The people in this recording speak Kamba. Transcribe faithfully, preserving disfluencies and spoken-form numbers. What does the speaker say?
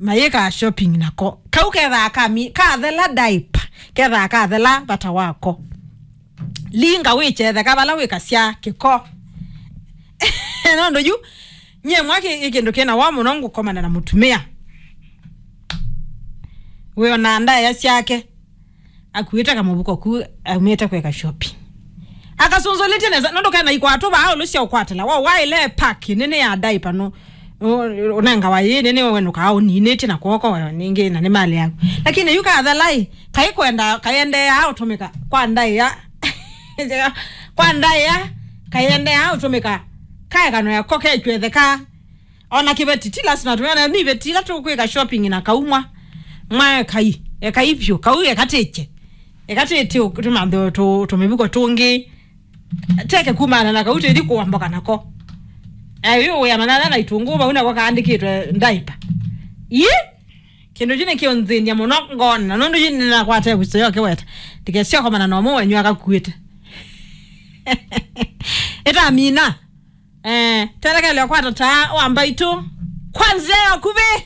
mayĩkaa shopping nako. Kau kethaa kami kathela diaper, kethaa kathela vata wako. Linga wĩkyetheka vala wĩkasya kĩko. Nũndũ yu nyie mwaki ĩ kĩndũ kĩna wa mũno ngũkomana na mũtumĩa wĩona ndaĩa syake akuĩte kamũvuko ku aumĩte kwĩka shopping. Akasunzũlĩtye nesa nũndũ kena ikwatũ vaa ũlũ sya ũkwatĩla wa waĩle paki nene ya diaper no. Ũnengawa yĩĩ nĩ nĩwe wenũkaa ũninĩtye na kwoko wayo ningĩ na nĩ malĩ yaku. Lakini yu kathalai kaikwenda kayendeea ũtũmĩka kwa ndaĩa. Kwa ndaĩa kayendeea ũtũmĩka kaekano yako kekwetheka. Ona kĩveti ti lasima tũmĩane nĩ iveti ila tũkwĩka shopping na kaumwa. Mwa ekai ekai vyũ kau ekatĩkye ekatĩtĩ tũmanthe tũmĩvuko tũngĩ. Teke kumana na kau tĩthi kũamboka nako. Ayo wĩamana na itũngũ vau nako kaandĩkĩtwe diaper. Ii kĩndũ kyu nĩkĩũnthĩny'a mũno ngona nũndũ yu nĩnakwata ĩvuso yo kĩweta ndikesyokomana na ũmwe wenyu akakuĩte. Ĩtamina. Eh, telekelyo kwata taa wa mbaitũ kwa nzĩa ya ũkuvĩ.